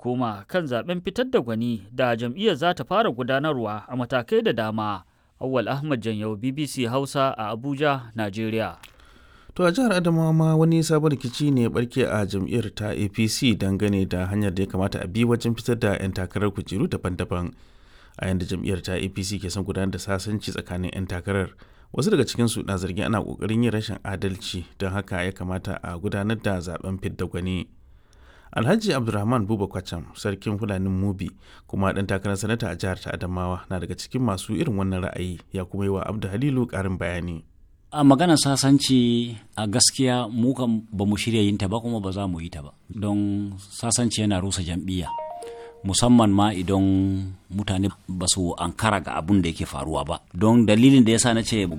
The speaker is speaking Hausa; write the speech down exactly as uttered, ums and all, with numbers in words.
koma kan zaben fitar da gwani da jam'iyyar za ta fara gudanarwa a matakai da dama. Awwal Ahmad Janyau, B B C Hausa a Abuja, Najeriya. To, a jihar Adamawa ma wani sabon rikici ne barke a jam'iyyar ta A P C dangane da hanyar da ya kamata a bi wajen fitar da 'yan takarar kujeru daban-daban. A yanda jam'iyyar ta A P C ke son gudanar da sasanci tsakanin 'yan takarar, wasu daga cikinsu na zargin ana kokarin yin rashin adalci, don haka ya kamata a gudanar da zaben fidda gwani. Alhaji Abdulrahman Buba Kwacham, sarkin Fulanin Mubi kuma ɗan takarar sanata a jihar ta Adamawa, na daga cikin masu irin wannan ra'ayi, ya kuma yi wa Abdu Halilu ƙarin bayani. A maganar sasanci, a gaskiya mu kan ba mu shirya yin ta ba, kuma ba za mu yi ta ba, don sasanci yana rusa jam'iyya, musamman ma idan mutane ba su ankara ga abun da yake faruwa ba. Don dalilin da yasa na ce ba